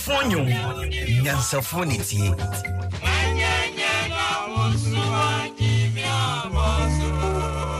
Nyansafoɔ nnwom, nyansafoɔ ne tie.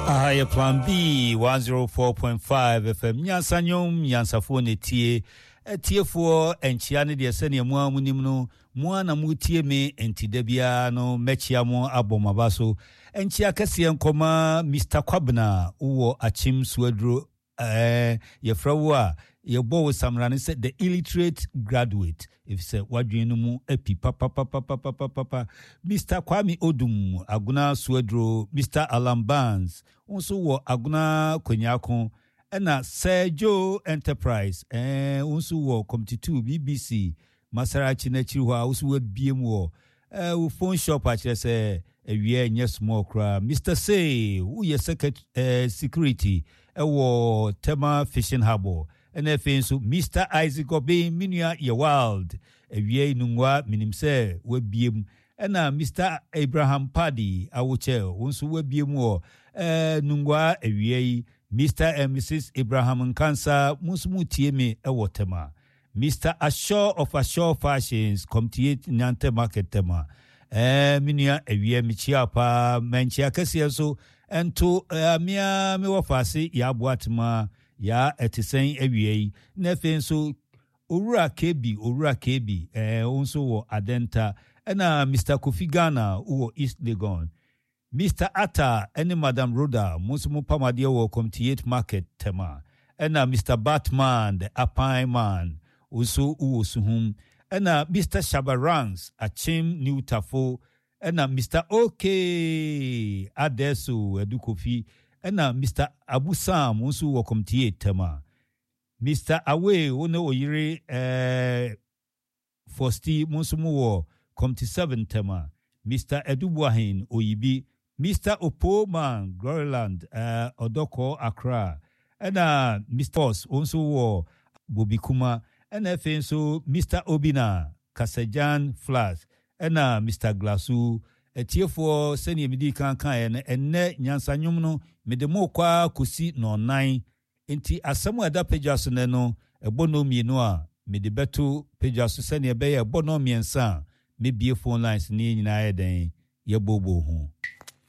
Aha yɛ Plan B 104.5 FM nyansa nnwom nyansafoɔ ne tie. Atiefoɔ nkyea ne deɛ sɛdeɛ mo ara monim no mo ara na motie me nti da biara no mɛkyea mo abɔ mo aba so. Nkyea kɛseɛ nkɔma Mister Kwabena wowɔ Akyem Suaduro Ɛɛ, yɛfrɛ wo a, yɛbɔ wo samena no sɛ the illiterate graduate, efisɛ w'adwene no mu api papapapapapapa. Mister Kwame Odum, Agona Suaduro, Mister Allan Barnes, wo nso wɔ Agona Kwanyako, ɛna Sir Joe Enterprise, ɛɛ, wo nso wɔ Committee 2, BBC, Masarachi no akyiri hɔ a wo so wabie mu wɔ eh, wo phone shop akyerɛ sɛ awia ɛnyɛ small koraa. Mister Say, woyɛ secret, eh, security ɛwɔ Tema Fishing Harbour. Ɛna afei nso Mister Isaac Obeng, me nua yɛ wild. Awia yi nungua menim sɛ wabie mu. Ɛna Mister Abraham Paddy Awokyɛ, wo nso wabie mu wɔ eh, nungua awia yi. Mister and Mrs Abraham Nkansa, mo nso motie me ɛwɔ Tema. Mister Ashaw of Ashaw Fashions, Komtiye Nyante Market Tema. Ɛɛ me nua awia mekyia wo paa. Mankyia kɛseɛ nso nto ɛɛ me ara me wɔfaase Yaa Boatema. Yaa ɛte sɛn awia yi? Na afei nso Owura KB, Owura KB, ɛɛ wo nso wɔ Adenta. Ɛna Mister Kofi Ghana wowɔ East Legon. Mister Atta ne Madam Rhoda, mo nso mopam adeɛ wɔ Comtiate Market, Tema. Ɛna Mister Batman, the Apan man, wo nso wowɔ Suhum. Ɛna Mister Shabba Ranks, Akyem New Tafo. Ɛna Mister OK Adeso, Adu Kofi. Ɛna Mister Abu Sam, wo nso wɔ Comtiate, Tema. Mister Away, wo ne wo yere eh, Fosti mo nso mo wɔ Comte 7 ntɛm a, Mister Adu Boahen Oyibi, Mister Opoo Man Gloryland eh, Ɔdɔkɔɔ Accra, ɛna Mister Boss wo nso wɔ Bobikuma, ɛna afei nso Mister Obina Kasagyan Flats, ɛna Mister Glasu. Atiefoɔ sɛdeɛ medii kan kaeɛ no, ɛnnɛ Nyansa Nwom no mede mo rekɔ ara kɔsi nnɔnnan. Enti asɛm a ɛda padwa so nnɛ no, ɛbɔ nnɔnmienu a, mede bɛto padwa so sɛnea ɛbɛyɛ a ɛbɔ nnɔnmiɛnsa a, mɛbue phone lines no na yɛn nyinaa ayɛ dɛn? Yɛabooboo ho.